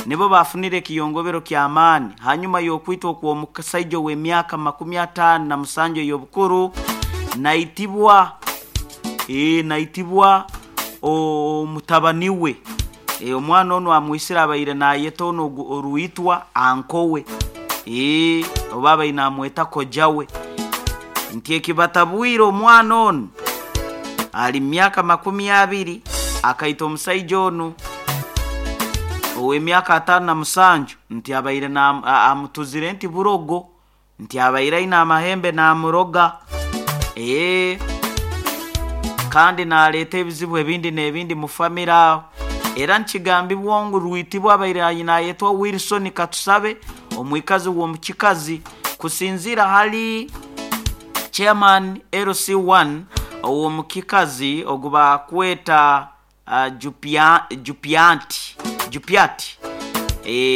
Nibo baafunire ekiyongobero ky'amaani hanyuma y'okwitwa okw'omusaija ow'emyaka 57 ey'obukuru naitibwa naitibwa omutabani we. Omwana onu amwisire abaire naayeta onu orwitwa anko we, oba abaire naamweta koja we. Nti ekibatabwire omwana onu ali mu myaka 20 akaita omusaija onu ow'emyaka 57 nti abaire amutuzire nti burogo, nti abaire aine amahembe naamuroga. Kandi naaleeta ebizibu ebindi n'ebindi mu famire aho. Era nikigambibwa ngu Rwitibwa abaire naayetwa Wilson Katusabe omwikazi w'omu Kikazi kusinziira hali Chairman LC1 ow'omu Kikazi ogu baakweta Jupiati, Jupiati,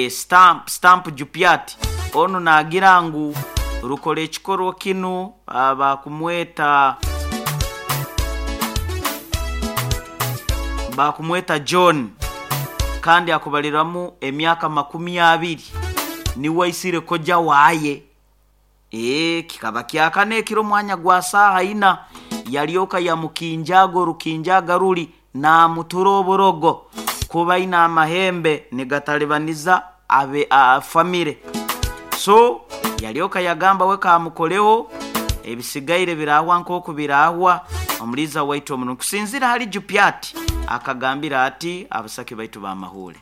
Stamp, Stamp Jupiati onu naagira ngu rukora ekikorwa kinu baakumweta baakumweta John kandi akubaliramu emyaka 20 niwe aisire koja waaye. Kikaba kyakana ekiro omwanya gwa saaha ina yalyoka yamukinjaaga orukinjaaga ruli naamutura oburogo kuba aine amahembe nigatalibaniza abe famire. So yalyoka yagamba we kaamukoleho ebisigaire biraahwa nk'oku biraahwa omuliiza waitu omurungi. Kusinziira hali Jupiati akagambira ati abasaki baitu b'amahuure.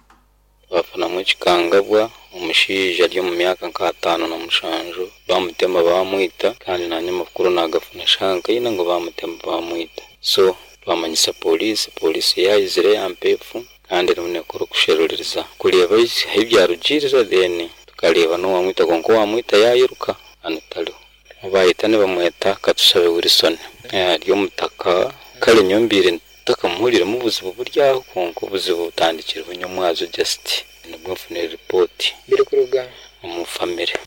Twafunamu ekikangabwa, omushaija ari omu myaka nka 57 bamutema bamwita kandi naanye amakuru naagafuna shaaha nka ina ngu bamutema bamwita. So twamanyisa pooriisi, pooriisi yaizire yampa efu kandi erimu neekora okusheruririza kureeba ahu byarugiirira then tukareeba n'owaamwita kwonka owaamwita yairuka hanu tariho. Ou baayeta nibamweta Katushabe Wilson ari omutaka kare nyowe mbaire ntakamuhuriiremu obuzibu buri aho kwonka obuzibu butandikirweho nyomwazo just nibwo nfunire ripooti omu famire.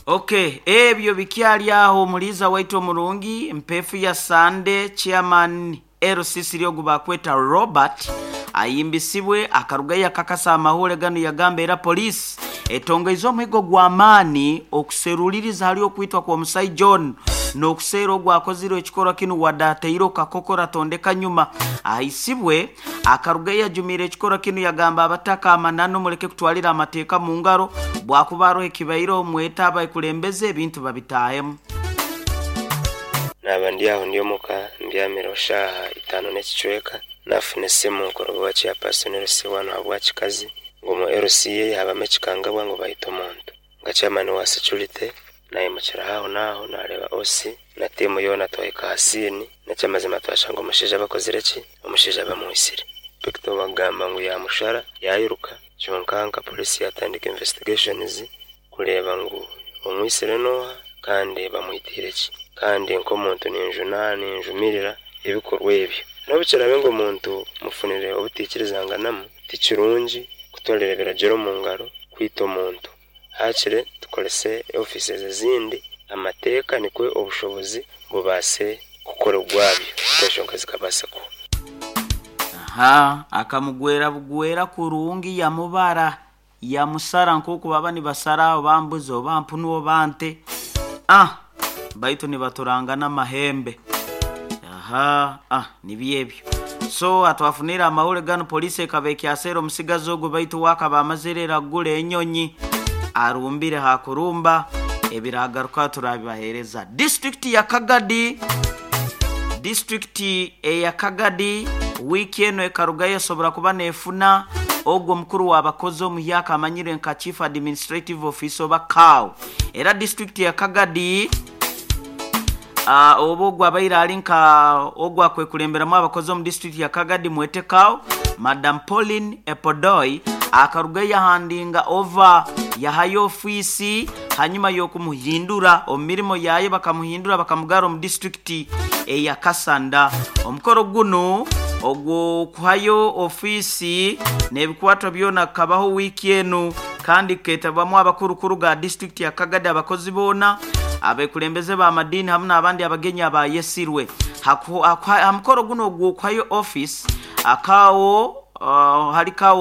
Ok, ebyo bikyali aho omuliiza waitu omurungi Mpeefu ya Sande Chairman LC ogu baakweta Robert ayimbisibwe akarugayo yakakasa amahuure ganu yagamba era poliisi etongeize omuhigo gw'amaani okuseruliriza hali okwitwa kw'omusaija onu n'okuseera ogu akozire ekikorwa kinu wadde ataire okakokora tondeka nyuma. Ahaisibwe akarugayo yajumiire ekikorwa kinu yagamba abataka amananu muleke kutwalira amateeka mu ngaro bwakuba haroho ekibaireho mwete abakulembeze ebintu babitaahemu. Naaba ndi aho ndi omuka mbyamireho shaaha itaano n'ekicweka, naafuna esimu kuruga owa chairperson LC wanu ahabwa Kikazi ngu omu LC ye haabamu ekikangabwa ngu baita omuntu. Nka chairman wa security naimukiraho aho n'aho naareeba OC na tiimu yoona twahika aha siini n'eky'amazima twashanga omushaija bakozire ki? Omushaija bamwitsire. Inspector bagamba ngu yaamushara yairuka kyonka nka poliisi yaatandika investigations kureeba ngu omwitsire n'oha kandi bamwitiire ki. Kandi nk'omuntu ninjumirira ebikorwa ebyo. N'obu kiraabe ngu omuntu mufunire obutaikirizanganamu, ti kirungi kutwarira ebiragiro omu ngaro kwita omuntu. Haakire tukorese ofiisi ezindi, amateeka nikwo obushobozi bubaase kukora ogwabyo enshonga zikabaasa kuhwa. Aha, akamugwera bugwera kurungi yamubara, yamusara nk'oku baba nibasara oba mbuzi oba mpunu oba nte. Ah, baitu nibaturangana amahembe. Aha, ah, nibyo ebyo. So atwafunire amahuri ganu poliisi ekaba ekyaseera omusigazi ogu baitu we akaba amazire ira kugura enyonyi arumbire ha kurumba ebiragaruka turabibaheereza. Disitulikiti ya Kagadi Disitulikiti eya Kagadi wiiki enu ekarugayo esobora kuba neefuna ogu omukuru w'abakozi omuhyaka amanyirwe nka Chief Administrative Officer oba CAO. Era disitulikiti ya Kagadi oba ogu abaire ali nka ogu akwekulemberamu abakozi omu disitulikiti ya Kagadi mwete CAO, Madam Pauline Epodoi akarugayo yahandinga ova yahayo ofiisi hanyuma y'okumuhindura omu mirimo yaaye bakamuhindura bakamugarra omu disitulikiti eya Kassanda. Omukoro gunu ogw'okuhayo ofiisi n'ebikwatwa byona gukabaho wiiki enu kandi gukeetabwamu abakuru kuruga aha disitulikiti ya Kagadi, abakozi boona, abekulembeze b'amadiini hamu n'abandi abagenyi abaayesirwe. Ha mukoro gunu ogw'okuhayo ofiisi, akaawo. Hali kawo.